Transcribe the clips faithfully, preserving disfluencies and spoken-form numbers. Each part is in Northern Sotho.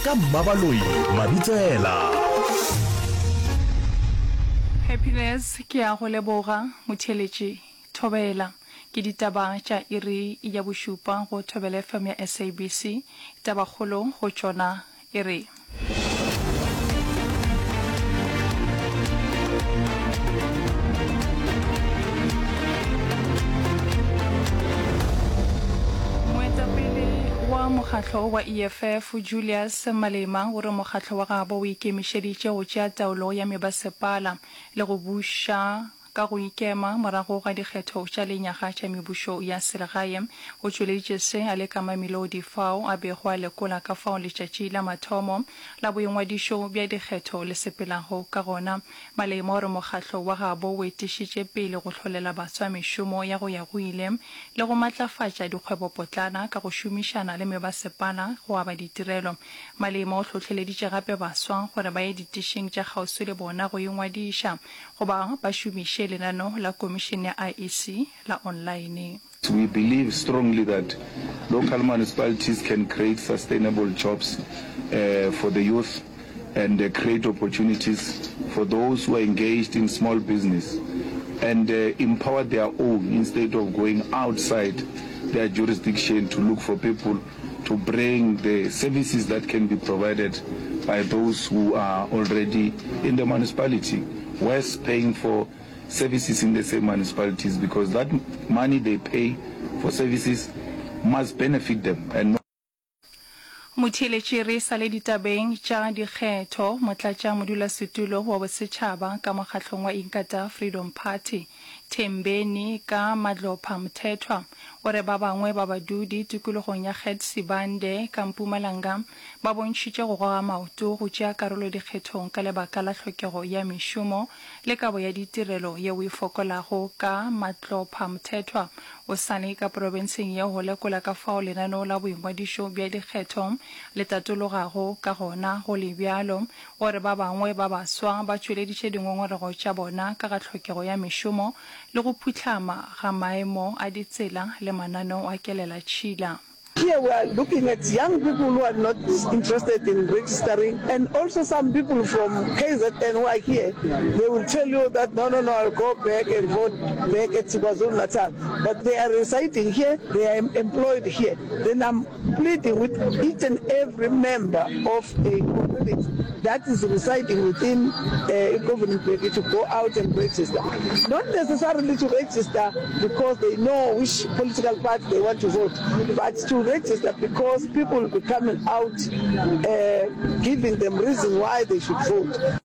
Ka Mmabaloi Mabitsela. Happiness ke a go leboga motheeletši. Thobela. Ke ditaba tša iri ya bošupa go Thobela FM ya SABC. Tabakgolo go tšona e re. Moetapele wa mokgatlo wa EFF Julius Malema o re mokgatlo wa gabo o ikemišeditše go tšea taolo ya mebasepala le go buša ka go ikema morago ga dikgetho tša lenyaga tša mebušo ya selegae. O tšweleditše se a le ka Mamelodi fao a bego a lekola ka fao letšatši la mathomo la boingwadišo bja dikgetho le sepelago ka gona. Malema o re mokgatlo wa gabo o etišitše pele go hlolela baswa mešomo ya go ya go ile le go matlafatša dikgwebopotlana ka go šomišana le mebasepala go aba ditirelo. Malema o hlohleleditše gape baswa gore ba ye ditišing tša kgauswi le bona go ingwadiša goba ba šomiše lenaneo la Komišene ya IEC la onlaene. We believe strongly that local municipalities can create sustainable jobs for the youth and create opportunities for those who are engaged in small business and empower their own instead of going outside their jurisdiction to look for people to bring the services that can be provided by those who are already in the municipality, worse paying for services in the same municipalities because that money they pay for services must benefit them and not Motheeletši re sa le ditabeng tša dikgetho, Motlatšamodulasetulo wa bosetšhaba ka mokgahlong wa Inkatha Freedom Party, Thembeni ka Madlopha Mthethwa, o re ba bangwe ba badudi tikologong ya Gert Sibande ka Mpumalanga ba bontšhitše go goga maoto go tšea karolo dikgethong ka lebaka la hlokego ya mešomo le kabo ya ditirelo yeo e fokolago. Ka Matlopha Mthethwa o sa le ka profenseng yeo go lekola ka fao lenaneo la boingwadišo bja dikgetho le tatologago ka gona. Go le bjalo, o re ba bangwe ba baswa ba tšweleditše dingongorego tša bona ka ga hlokego ya mešomo le go phuhlama ga maemo a ditsela le mananeo a kelelatšhila. Here we are looking at young people who are not interested in registering and also some people from KZN who are here, they will tell you that no, no, no, I'll go back and vote back at KwaZulu-Natal. But they are residing here, they are employed here. Then I'm pleading with each and every member of a community that is residing within uh, governing body to go out and register. Not necessarily to register because they know which political party they want to vote, but to register because people will be coming out uh, giving them reasons why they should vote.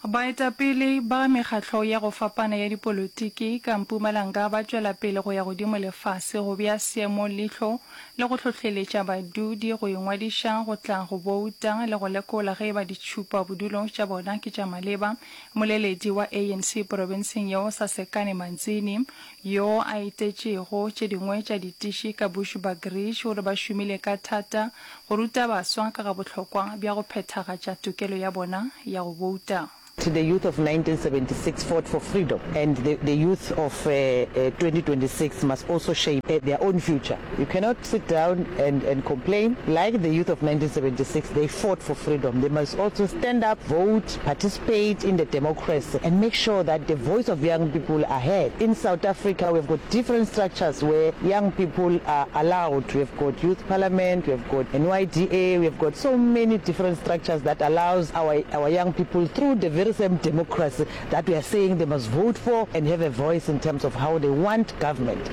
Baetapele ba mekgatlo ya go fapana ya dipolotiki ka Mpumalanga ba tšwela pele go ya godimo le fase go bea seemo leihlo le go hlohleletša badudi go ingwadiša go tla go bouta le go lekola ge e ba ditšhupabodulo tša bona ke tša maleba. Mmoleledi wa ANC porofenseng yeo Sasekane Manzini yo a etetšego tše dingwe tša ditiši ka Bushbuckridge o re ba šomile ka thata go ruta baswa ka ga bohlokwa bja go phethagatša tokelo ya bona ya go bouta. The youth of nineteen seventy six fought for freedom and the, the youth of uh, uh, twenty twenty-six must also shape uh, their own future. You cannot sit down and, and complain. Like the youth of nineteen seventy-six, they fought for freedom. They must also stand up, vote, participate in the democracy and make sure that the voice of young people are heard. In South Africa, we've got different structures where young people are allowed. We've got youth parliament, we've got N Y D A, we've got so many different structures that allows our, our young people through the very same democracy that we are saying they must vote for and have a voice in terms of how they want government.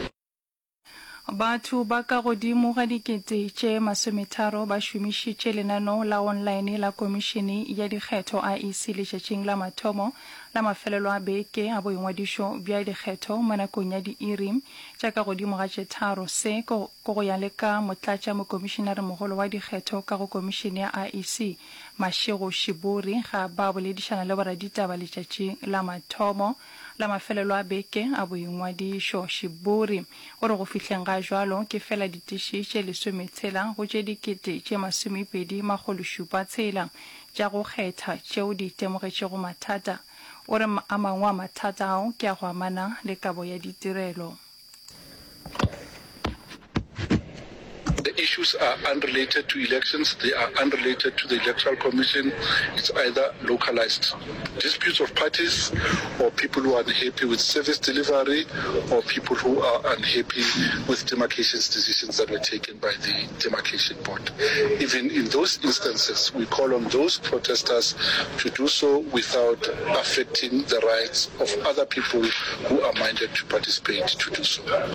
Batho ba ka godimo ga dikete tše masometharo ba šomišitše lenaneo la online la Komišene ya Dikgetho, I E C, letšatšing la mathomo la mafelelo a beke a boingwadišo bja dikgetho mo nakong ya diiri tša ka godimo ga tše tharo. Se ke go ya le ka motlatšamokomišenaremogolo wa dikgetho ka go Komišene ya I E C, Mashego Shiburi, ga ba boledišana le boraditaba letšatšing la mathomo la mafelelo a beke a boingwadišo. Shiburi o re go fihleng ga jwalo ke fela ditiši tše lesometshela go tše dikete tše masomepedi makgolo šupa tshela tša go kgetha tšeo di itemogetšego mathata. O re a mangwe a mathata ao ke a go amana le kabo ya ditirelo. The issue issues are unrelated to elections, they are unrelated to the Electoral Commission. It's either localized disputes of parties or people who are unhappy with service delivery or people who are unhappy with demarcations decisions that were taken by the demarcation board. Even in those instances, we call on those protesters to do so without affecting the rights of other people who are minded to participate to do so.